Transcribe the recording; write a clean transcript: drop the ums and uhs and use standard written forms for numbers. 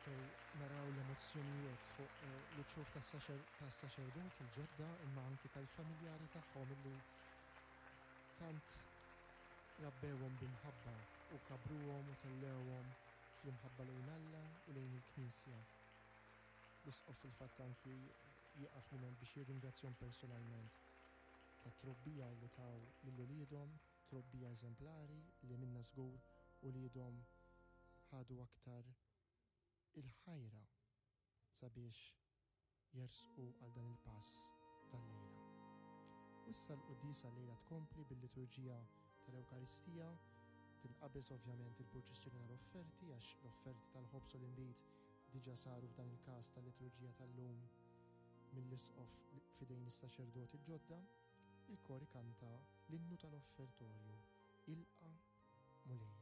Nistgħu naraw l-emozzjonijiet fuq l-uċuħ tas-saċerdoti l-ġodda imma anki tal-familjari tagħhom illi tant rabbewhom b'imħabba u kabbruhom u tellewhom fl-imħabba lejn Alla u lejn il-Knisja. L-Isqof fil-fatt anki jieqaf mument biex jirringrazzjahom personalment tat-trobbija li taw lil uliedhom, trobbija eżemplari li minnha żgur uliedhom ħadu aktar il-ħajra sabiex jersqu għal dan il-pass tal-lejla. U issa l-quddiesa llejla tkompli bil-liturġija tal-Ewkaristija, tinqabeż ovvjament il-purċissjoni tal-offerti għax l-offerti tal-ħobż u l-inbid diġà saru f'dan il-każ tal-liturġija tal-lum mill-Isqof f'idejn is-saċerdoti l-ġodda, il-kor ikanta l-innu tal-offertorju, Ilqa' Mulejja.